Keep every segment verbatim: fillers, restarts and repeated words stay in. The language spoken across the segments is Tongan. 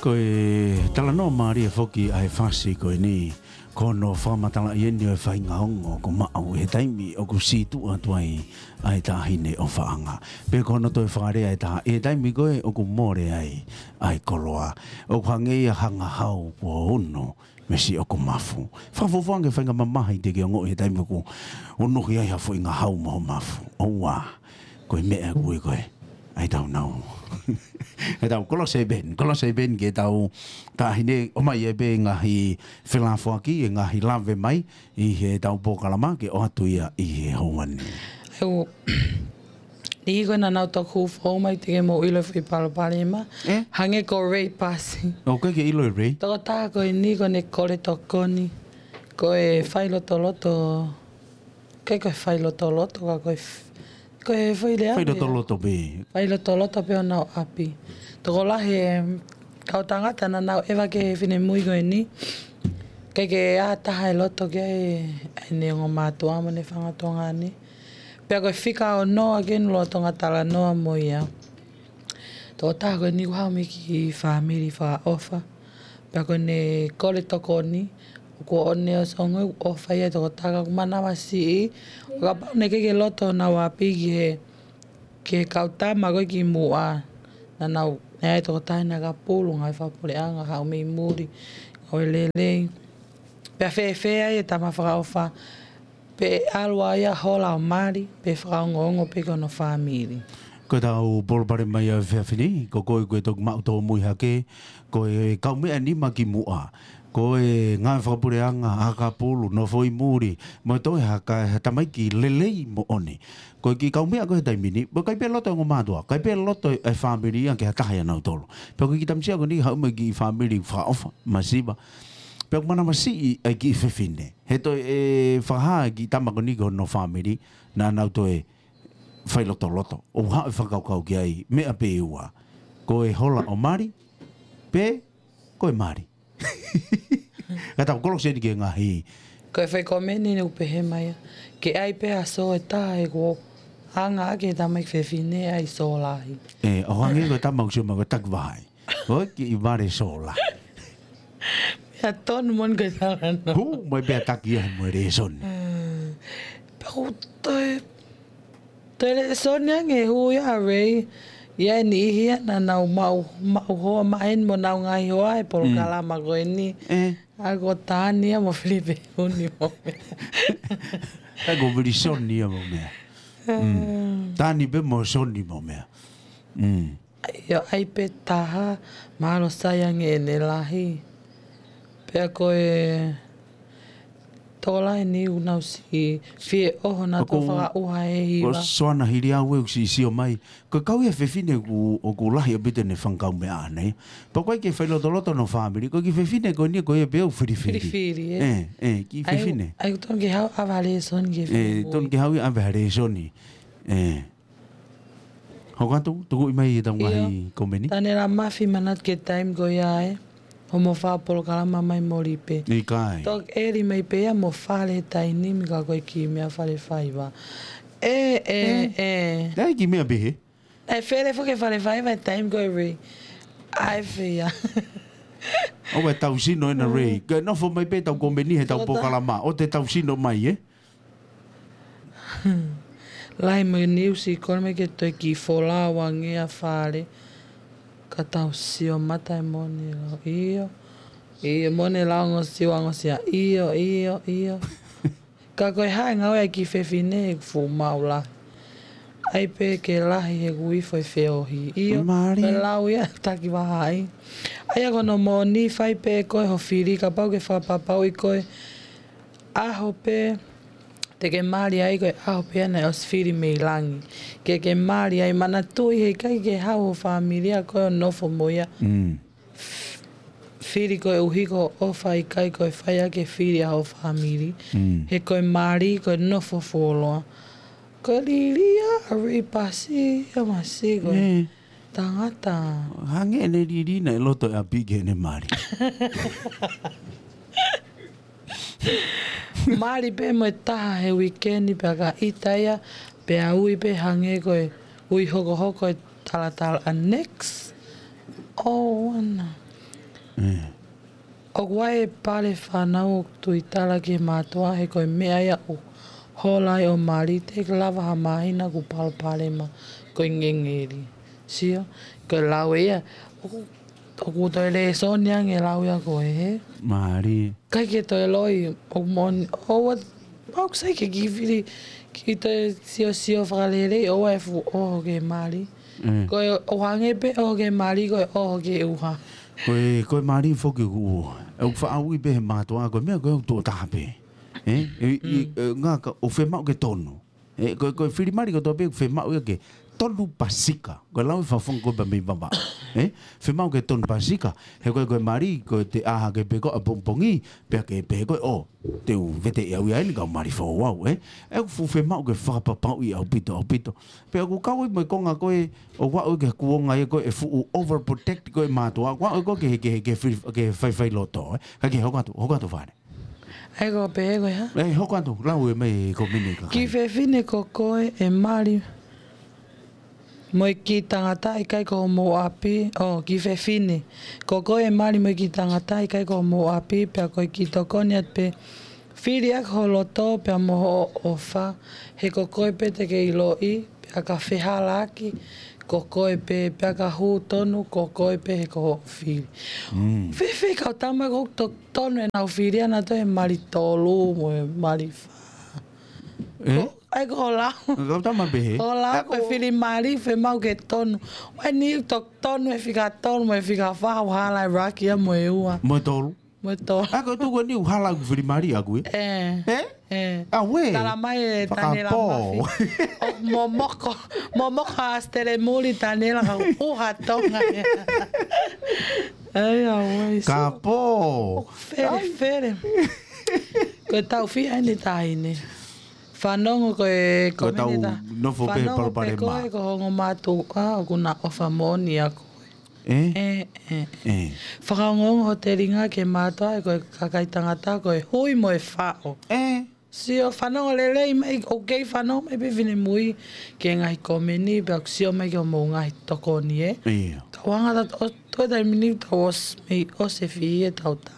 Ko e talanoa mālie foki ʻa e fasi ko eni, ko hono fakamatalaʻi eni ʻo e faʻahinga ongo ʻoku maʻu he taimi ʻoku sītuʻa atu ai ʻa e taʻahine ʻofaʻanga. Pe ko hono toe fakalea ʻe taha, ʻi he taimi ko ē ʻoku mole ai ʻa e koloa, ʻoku hangē ia ha ngahau kuo ono mei siʻoku mafu. Fakafuofua ange faʻahinga mamahi te ke ongoʻi he taimi ʻoku unuhi ai ha foʻi ngahau mo ho mafu. ʻOua, ko e meʻa ʻoku ui ko ē ʻa e tau nau. ʻE tau Kolose Ben, Kolose Ben ke tau taʻahine ʻomai ʻe pē ngaahi felafoaki, ʻe ngaahi lave mai ʻi he tau polokalama ke ʻoatu ia ʻi he houa ni. ʻE u Ni ko ena nau toku fou mai te ke mou ʻilo e foʻi palopalema. Eh? Hangē ko Ray Pasi. ʻOku ke ʻilo e Ray? Tokotaha ko eni ko ʻene kole tokoni. Ko e failotoloto. Ke ko e failotoloto ka ko e f-, ko e foʻi lea pē. Failotoloto pē. Failotoloto pē ʻo nau ʻapi. Tokolahi e kau tangata naʻa nau ʻeva ki he finemui ko eni. Ke ke ʻa taha e loto ke ai ʻene ongo mātuʻa mo ʻene fanga tuongaʻane. Pea ko e fika ono ʻa ke nulu ʻo Tonga talanoa mo ia. Tokotaha ko eni kuo haʻu mei he kiʻi fāmili fakaʻofa. Pea ko ʻene kole tokoni, ʻoku ʻoʻone ʻosi ongo ʻofa ia tokotaha ka ʻoku manavasiʻi. ʻO kapau naʻe ʻikai ke loto ʻenau ʻapi ki he, ki he kau tama ko ē kimuʻa. Naʻa nau, naʻe ʻi ai tokotaha ʻi he ngāue fakapulu, ngāue fakapuleʻanga, haʻu mei muli, ngāue lelei. Pea fēfē ai e tama fakaʻofa. Pe ʻalu ai ia hola ʻo mali, pe fakaongoongo pē ki hono fāmili. Ko e tau palopalema ia ʻo e efiafi ni, ko koe ko e toki maʻu tōmui hake, ko e kaumeʻa nima kimuʻa, ko e ngāue fakapuleʻanga, ngāue fakapulu, nofo ʻi muli, mo e toe ha ka-, ha tamaiki lelei moʻoni. Ko e kiʻi kaumeʻa ko ē he taimi ni, mo e ʻikai pē loto e ongo mātuʻa, ʻikai pē loto e fāmili ia ke ha taha ia ʻanautolu. Pea ko e kiʻi tamasiʻi ko eni haʻu mei he kiʻi fāmili fakaʻofa, masiva. Pea ʻoku manavasiʻi ai e kiʻi fefine. He toe ʻe fakahā e kiʻi tama ko eni ki hono fāmili, naʻa nau toe failotoloto. ʻOku haʻu e fakakaukau ki ai, meʻa pē ʻe ua. Ko e hola ʻo mali, pe ko e mali. Ka tau Kolose eni ki he ngaahi. Ko e fai komeni ni ʻoku pehē mai ia. Ke ʻai pē ha sō ʻe taha he kuo hanga ʻaki e tamaiki fefine ʻai sō lahi. ʻE, ʻo hangē ko e tama ʻoku sio mai ko e taki vahai. ʻOi, kiʻi vale sō lahi. Ia tonu moʻoni ko e talanoa. Hū, mai pea taki ia mo e lēsoni. Mm. Pea ʻoku toe, toe lēsoni ange hū ia Ray. ʻI ai e niʻihi ia naʻa nau maʻu, maʻu hoa maheni mo nau ngaahi hoa he polokalama ko eni. Eh. ʻA ko Tania mo Filipe Huni mo meʻa. ʻA ko Vilisoni ia mo meʻa. Mm. Tani pē mo Soni mo meʻa. Mm. ʻIo, ʻai pē taha, mahalo sai ange ʻene lahi. Pea ko e tokolahi ni ʻoku nau siʻi fie ʻoho naʻa tau fakaʻuha he hiva. Ko Soana Hiliau ʻoku siʻi sio mai. Ko e kau ia fefine ʻoku, ʻoku lahi ʻaupito ʻene fanga kaumeʻa ʻaʻana. Pea ko e kiʻi failotoloto hono fāmili. Ko e kiʻi fefine ko eni ko ia pē ʻoku filifili. Filifili, ē. ʻE, ʻe, kiʻi fefine. ʻAi, ʻai tonu ke haʻu ʻave ha lēsoni ki he fefine. ʻE, tonu ke haʻu ia ʻave ha lēsoni. ʻE. Hoko atu, tukuʻi mai e tau ngaahi komeni. Tanela Mafi manatu ki he taimi ko ia ē. Hoʻomo fai polokalama mai moli pē. ʻIkai. Toki ʻeli mai pē ia mo fale taimi ni ka ko e kiʻi meʻa fale faiva. ʻE, ʻe, ʻe. Naʻe kiʻi meʻa pē he? Naʻe fele foki e fale faiva he taimi ko ē Ray. ʻAi fea. ʻOua ʻe tau sino ena Ray. Ke nofo mai pē tau komeni he tau polokalama. ʻOua te tau sino mai, ē? Lahi mo e niusi, kole mai ke toe kiʻi folau ange ʻa fale. Ka tau sio mata e mone lau. ʻIo. ʻIo, mone lau ngosio, ngosia. ʻIo, ʻio, ʻio. Ka ko e hā e ngāue ʻa e kiʻi fefine ʻoku fuʻu maʻu lahi. ʻAi pē ke lahi he kuifo e feohi. ʻIo, mali. Ko e lau ia taki vahai. ʻAi ia ko hono moʻoni fai pē ko e ho fili, kapau ke fakapapauʻi ko e ʻaho pē te ke mali ai ko e ʻaho pē ia naʻe ʻosi fili mei langi. Ke ke mali ai manatuʻi he ʻikai ke haʻu ho fāmili ʻa koe ʻo nofo mo ia. Mm. Fili koeʻuhi ko hoʻo ʻofa ʻikai ko e fai ʻaki e fili ʻa ho fāmili. Mm. He ko e mali ko e nofo fuoloa. Ko e lili ia ʻa Ray Pasi ia masi ko e tangata. Hangē ʻene lili naʻe loto e ʻapi ki heʻene mali. Mali pē mo e taha he uikeni pea ka ʻita ia, pea ui pē hangē ko e ui hokohoko e talatala ʻa next. ʻO ana. ʻOku ʻi ai e pale fānau ʻoku tuitala ki he mātuʻa he ko e meʻa ia ʻoku hola ai ʻo mali, te ke lava ha māhina kuo palopalema ko e ngengeli. Sio, ko e lau ia, ʻoku, ʻoku toe lēsoni ange lau ia ko e he. Mālie. ʻIkai ke toe loi, ʻoku moʻoni, ʻoua, ʻoku sai ke kiʻi fili, kiʻi toe siosio fakalelei, ʻoua e fuʻu ʻoho ke mali. Ko e ʻohange pē ʻoho ke mali, ko e ʻoho ke ʻuha. Ko e, ko e mali foki ʻoku, ʻoku faʻa ui pē he mātuʻa, ko e meʻa ko e ʻoku tuʻo taha pē. ʻE, ʻe, ʻe, ʻe, ngā ka, ʻoku fiemaʻu ke tonu. ʻE, ko e, ko e fili mali ko tō pē ʻoku fiemaʻu ia ke tonu pasika. Ko e lau e fafonga ko e pa mei vava. ʻE, fiemaʻu ke tonu pasika. He ko e, ko e mali, ko e te ʻā hake pē ko ē ʻapongipongi, pea ke pehē ko ē, ʻo, te u vete ia au ia eni kau mali foʻou au, ʻe. ʻE, ʻoku fuʻu fiemaʻu ke fakapapauʻi ʻaupito, ʻaupito. Pea ʻoku kau ai mo e konga ko ē, ʻoku aʻu ki he kuonga ia ko ē ʻe fuʻu overprotect ko ē mātuʻa, ʻoku aʻu ko ē ke, ke, ke fili, ke faifai loto, ʻe. Ka ke hoko atu, hoko atu fale. ʻAi ko pē ko e hā? ʻE, hoko atu, lau e mai ko mini ka Kiʻi fefine ko koe ʻe mali mo e kiʻi tangata ʻikai ko homou ʻapi, ʻo, kiʻi fefine. Ko koe ʻe mali mo e kiʻi tangata ʻikai ko homou ʻapi, pea ko e kiʻi tokoni atu pē. Fili ʻaki ho loto pea mo hoʻo ʻofa, he ko koe pē te ke ʻiloʻi, pea ka fehalaaki, ko koe pē, pea ka hū tonu, ko koe pē he ko hoʻo fili. Fēfē kau tama ko to-, tonu ʻenau fili ʻanautolu he mali tolu, mo e mali fā. ʻE? Ko, ʻai ko lau. Kau tama pehē. Ko lau ko e fili mali, fiemaʻu ke tonu. ʻAi ni to-, tonu e fika tolu, mo e fika fā, hala e raki ia mo e ua. Mo e tolu. Mo e tolu. ʻA ko e tuku ni ʻoku hala ʻoku fili mali ʻaku ē? ʻE. ʻE? ʻE. ʻA uē. Tala mai e Tanela Mafi. ʻO momoko, momoko a stele muli Tanela ka ʻuha Tonga. ʻAi, ʻa uē. Ka pō. Fele, fele. Ko e tau fiha ʻeni taʻahine. Fanongo ko e, ko e tau nofo pē palopalema. Fanongo pē ko e ko hongo mātuʻa, ʻoku na ʻofa moʻoni ʻaku. ʻE? ʻE, ʻe. ʻE. Fakaongoongo ho telinga ke mātuʻa ʻe ko e kakai tangata ko e hui mo e faʻo. ʻE. Sio fanongo lelei mai, ʻoku kei fanongo mai pē finemui ke ngaahi komeni, pea ʻoku sio mai ke homou ngaahi tokoni ē. ʻIo. Ka ʻoku hanga atu ʻo toe taimi ni tau ʻosi, mei ʻosi e fihi e tau tā.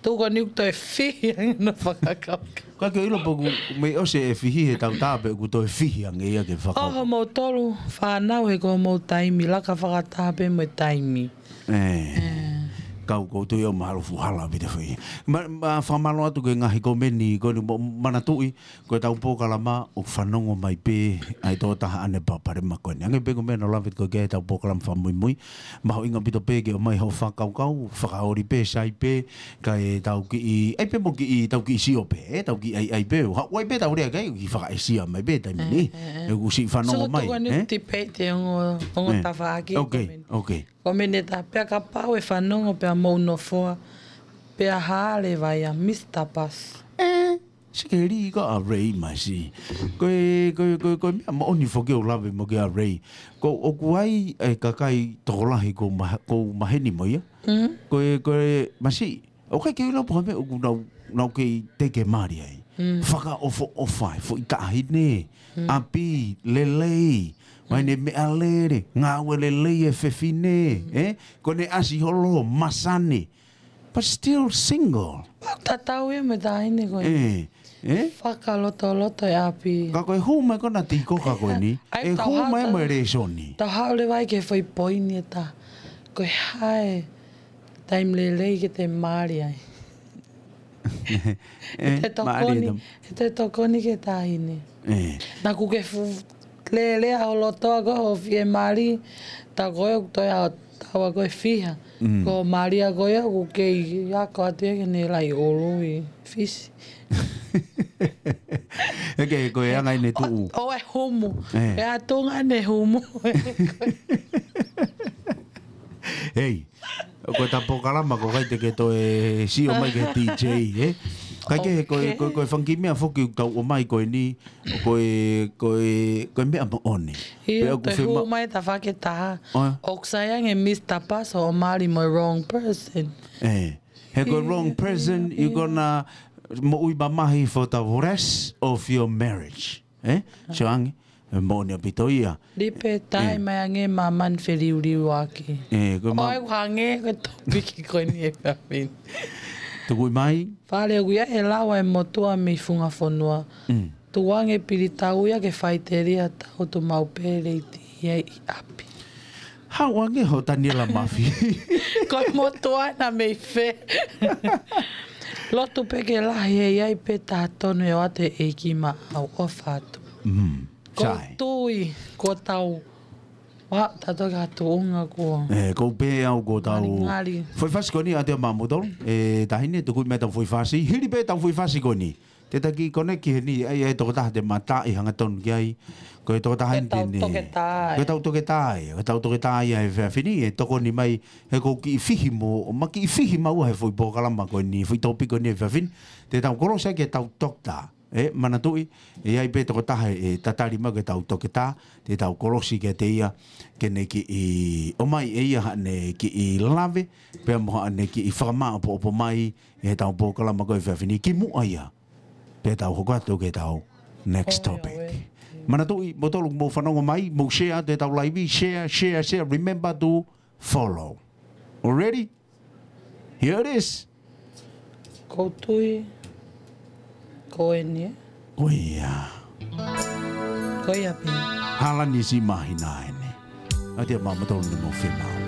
Tuku ni ʻoku toe fihi ange na fakakaukau. Ka ke ʻilo pē ʻoku mei ʻosi e fihi he tau tā pē ʻoku toe fihi ange ia ke fakakaukau. ʻOho mo tolu fānau he ko homou taimi laka fakataha pē mo e taimi. ʻE. Kau ko tui au mahalo fuʻu hala pē te fai. Ma, ma fakamālō atu ke ngaahi komeni ko eni mo manatuʻi, ko e tau polokalama ʻoku fanongo mai pē ʻa e tō taha ʻane palopalema ko eni. Ange pē ko e meʻa naʻa ku lave ko ē ki ai tau polokalama fakamuimui. Mahuʻinga ʻaupito pē ke ʻomai hoʻo fakakaukau, fakaoli pē, sai pē, kae tau kiʻi, ʻai pē mo kiʻi, tau kiʻi sio pē, ʻe, tau kiʻi ʻai, ʻai pē, ʻo haʻu ai pē tau lea ki ai, kiʻi fakaʻesia mai pē, taimi ni. ʻE, ʻe, ʻe. ʻE kusi fanongo mai, ʻe? Tuku ni ʻe? Tipeiti ongo, ongo tafaʻaki, okay, komeni. Okay. Komeni tā pea kapau ʻe fanongo pea mou nofoa, pea hale vai a Mister Pass. ʻE. Sikeli ko ʻa Ray masi. Ko e, ko e, ko e, ko e meʻa moʻoni foki ʻoku lave mo ki ai ʻa Ray. Ko ʻoku ʻi ai e kakai tokolahi ʻoku ma-, ʻoku maheni mo ia. Ko e, ko e masi. ʻOku ʻikai ke u ʻilo pe ko e hā e meʻa ʻoku nau, nau kei teke mali ai. Fakaʻofoʻofa e foʻi taʻahine. ʻApi, lelei. Mai ne meʻalele, ngāue lelei e fefine. ʻE? Ko ne ʻasi holo, masani. But still single. Tatau ia mo e taʻahine ko ē. ʻE, ʻe? Fakalotoloto e ʻapi. Ka ko e hū mai ko ena tiko ka ko eni. ʻE hū mai mo e lēsoni. Tau haʻu leva ai ki he foʻi poini ʻe taha. Ko e hā e taimi lelei ke te mali ai. ʻE, te tokoni, mālie. Te tokoni ki he taʻahine. ʻE. Naʻa ku ke fu-, lele a holo toa ko ho fie mali, tā ko e ʻoku toe a taua ko e fiha. Ko mali a ko e ʻoku kei ako atu ia ke ne lai ʻulu ʻi Fisi. ʻE ke ko e anga ʻene tuʻu. ʻO, ʻo e humu. ʻE. ʻE a tunga ʻene humu. Hei. Ko e tau polokalama ko ʻikai te ke toe sio mai ki he D J, ʻe? ʻIkai ke, ko e, ko e, ko e fanga kiʻi meʻa foki ʻoku tau ʻomai ko eni, ko e, ko e, ko e meʻa moʻoni. ʻIo, pea ʻoku toe hū mai tafaʻaki ʻe taha. ʻOku sai ange Mister Pass ʻo mali mo e wrong person. ʻE. He ko e wrong person, you're gonna moʻui mamahi for the rest of your marriage. ʻE? Sio ange. ʻE moʻoni ʻaupito ia. Lipe, tae mai ange māmani feliuliuaki. ʻE, ko e ma- ʻOku hangē ko e topiki ko eni e efiafi ni. Tuku mai. Fale ʻoku ʻi ai e lau ʻa e motuʻa mei funga fonua. Mm. Tuku ange pilitau ia ke faʻiteliha tau tu mau pele i ti ia ʻi ʻapi. Haʻu ange ho Taniela Mafi. Ko e motuʻa ena mei fē? Lotu pē ke lahi he ʻi ai pē taha tonu ʻe ʻoatu ʻe he ʻEiki maʻau, ʻofa atu. Mm. Ko u tui, ko tau. Wa, tato ka tuʻunga ko. ʻE, ko u pē au ko tau. Ngalingali. Foʻi fasi ko eni ʻa te ma moutolu. ʻE, taʻahine, tuku mai tau foʻi fasi. Hili pē tau foʻi fasi ko eni. Te taki koneki heni, ʻai, ʻai tokotaha te mata ʻi hanga tonu ki ai. Ko e tokotaha eni te ne. Ko e tau toketā ia, ko e tau toketā ia he efiafi ni, ʻe tokoni mai, he ko u kiʻi fihi mo, ma kiʻi fihi maua he foʻi polokalama ko eni, foʻi topiki ko eni he efiafi ni, te tau kolosi ai ke tau toketā. ʻE, manatuʻi, ʻe ʻi ai pē tokotaha ʻe tatali mai ke tau toketā, te tau kolosi kiate ia, ke ne kiʻi, ʻomai ʻe ia haʻane kiʻi lave, pea mo haʻane kiʻi fakamaʻopoʻopo mai, ʻi he tau polokalama ko e efiafi ni, kimuʻa ia. Pea tau hoko atu ke tau next topic. Manatuʻi, moutolu mou fanongo mai, mou share atu e tau live, share, share, share. Remember to follow. Already? Here it is. Ko u tui, ko eni ē. Ko ia. Ko ia pē. Hala ni si mahina eni. ʻA te ma moutolu ne mou fema.